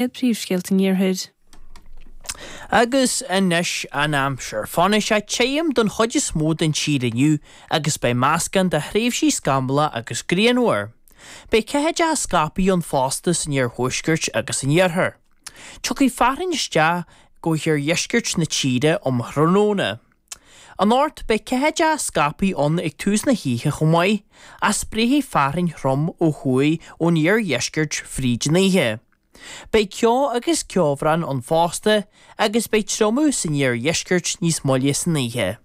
Iad príomhscéalta an Iarthair. Agus anois an aimsir. Fanfaidh sé tirim don chuid is mó den tír inniu agus beidh meascán de thréimhsí scamallach agus grianmhar. Beidh ceathaideacha scaipthe ann fosta san iarthuaisceart agus san iarthar. Tiocfaidh fearthainn isteach go hiardheisceart na tíre um thráthnóna. Anocht, beidh ceathaideacha scaipthe ann ag tús na hoíche chomh maith, ach spréifidh fearthainn throm ó thuaidh ón iardheisceart fríd an oíche. Beidh ceo agus ceobhrán ann fosta agus beidh triomú san iardheisceart níos moille san oíche.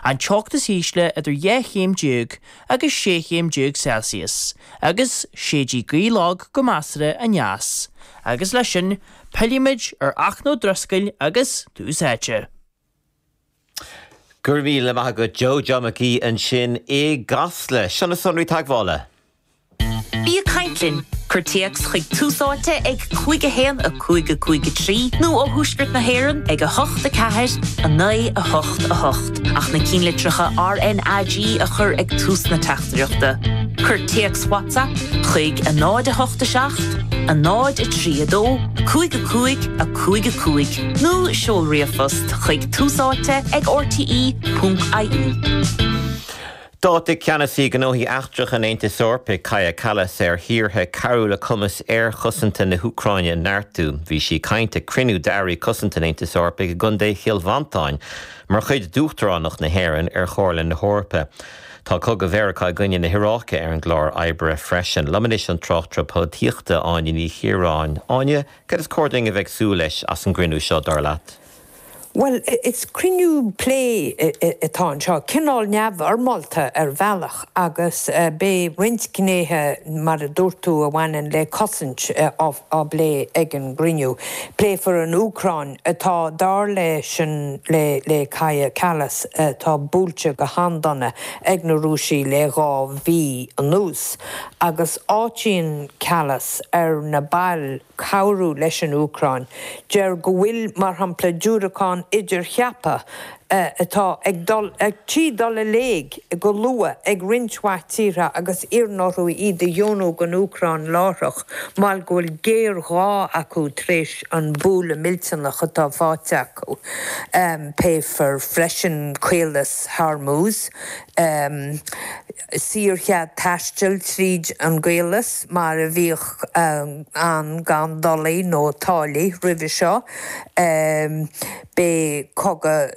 An teocht is ísle idir 12 chéim agus 16 chéim Celsius agus séidfidh gaoth lag go measartha aneas. Agus leis sin, pillfimid ar Fhachtna Ó Drisceoil agus Tús Áite. Go raibh míle maith agat Joe, John McGee ansin i gCasla. Seo na sonraí teagmhála. Bí ag caint linn! Cuir téacs chuig Tús Áite ag 5 1 5 5 3 nó ó Thuaisceart na hÉireann ag 8 4 9 8 8 ach na cinnlitreacha RnaG a chur ag tús na teachtaireachta. Cuir téacs WhatsApp chuig 0 8 7 0 3 2 5 5 5 5. Nó seol ríomhphost chuig Tús Áite ag rte ponc ie. D'áitigh Ceannasaí Gnóthaí Eachtracha an Aontais Eorpaigh, Kaja Kallas, ar thíortha cabhrú le cumas aerchosanta na hÚcráine a neartú. Bhí sí ag caint ag cruinniú d'airí cosanta an Aontais Eorpaigh i gContae Chill Mhantáin mar chuid d'Uachtaránacht na hÉireann ar Chomhairle na hEorpa. Tá cogadh Mheiriceá i gcoinne na hIaráice ar an gclár oibre freisin. Liom anois an tráchtaire polaitíochta, Áine Ní Chiaráin. Áine, Cad is cóir dúinn a bheith ag súil leis as an gcruinniú seo, dar leat? Bhuel, is cruinniú plé atá anseo, cineál neamhfhoirmeálta ar bhealach, agus beidh roinnt gnéithe, mar a dúirt tú, a bhaineann le cosaint á bplé ag an gcruinniú. Pléifear an Úcráin, atá, dar leis an, le Kaja Kallas, atá buailte go han-dona ag na Rúisigh le 2 mhí anuas. Agus áitíonn Kallas ar na baill cabhrú leis an Úcráin. Deir go bhfuil, mar shampla, diúracáin idircheaptha atá ag dul, ar tí dul i léig go luath ag roinnt mhaith tíortha agus iarrann orthu iad a dheonú don Úcráin láithreach mar go bhfuil géarghá acu tar éis an bualadh millteanach atá faighte acu. Pléifear freisin Caolas Hormuz. saorchead taistil tríd an gcaolas mar a bhíodh ann gan dolaí nó táillí roimhe seo. Beidh cogadh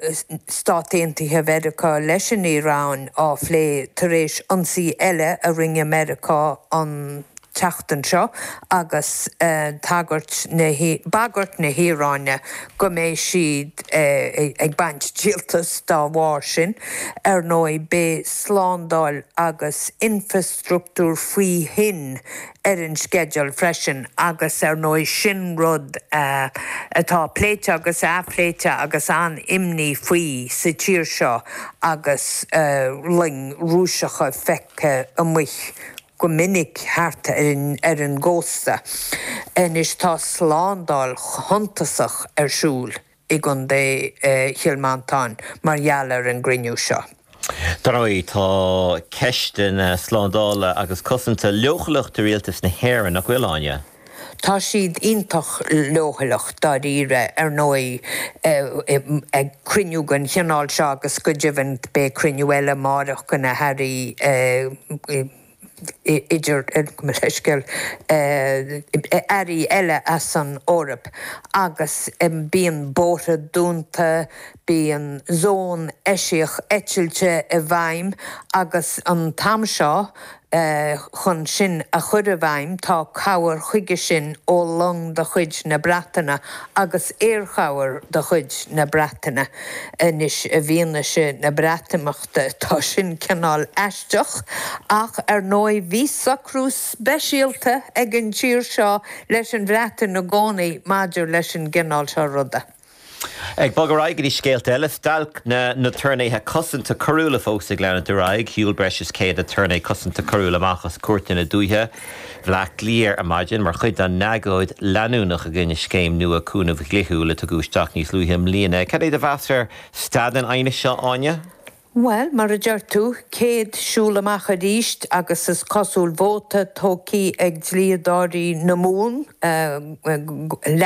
Stát Aontaithe Mheiriceá leis an Iaráin á phlé tar éis ionsaí eile a rinne Meiriceá an tseachtain seo agus tagairt na, bagairt na hIaráine go mbeidh siad ag baint díoltas dá bharr sin. Ar ndóigh, beidh slándáil agus infreastruchtúr faoi thoinn ar an sceideal freisin agus ar ndóigh sin rud atá pléite agus athphléite agus an-imní faoi sa tír seo agus loing Rúiseacha feicthe amuigh go minic thart ar an gcósta. Anois tá slándáil shuntasach ar siúl i gContae Chill Mhantáin mar gheall ar an gcruinniú seo. Dar ndóigh, tá ceisteanna slándála agus cosanta leochaileach do rialtas na hÉireann, nach bhfuil, Áine? Tá siad iontach leochaileach, dáiríre. Ar ndóigh, ag cruinniú den chineál seo, agus go deimhin beidh cruinniú eile amáireach de na hairí idir, gabh mo leithscéal, airí eile as an Eoraip, agus bíonn bóithre dúnta, bíonn zón eisiach eitilte i bhfeidhm agus an t-am seo, Chun sin a chur i bhfeidhm, tá cabhair chuige sin ó long de chuid na Breataine agus aerchabhair de chuid na Breataine. Anois, i bhfianaise na Breatimeachta, tá sin cineál aisteach, ach ar ndóigh bhí socrú speisialta ag an tír seo leis an Bhreatain i gcónaí maidir leis an gcineál seo ruda. Ag bogadh ar aghaidh go dtí scéalta eile, Stailc na n-aturnaetha cosanta coiriúla fós ag leanúint ar aghaidh. Shiúil breis is 100 aturnae cosanta coiriúil amach as cúirteanna dúiche Bhaile Átha Cliath ar maidin mar chuid dá n-agóid leanúnach i gcoinne scéim nua cúnaimh dhlíthiúil a tugadh isteach níos luaithe i mbliana. Cad é do mheas ar staid an aighnis seo, Áine? Bhuel, mar a deir tú, céad siúl amach arís agus is cosúil vóta tógtha ag dlíodóirí na Mumhan.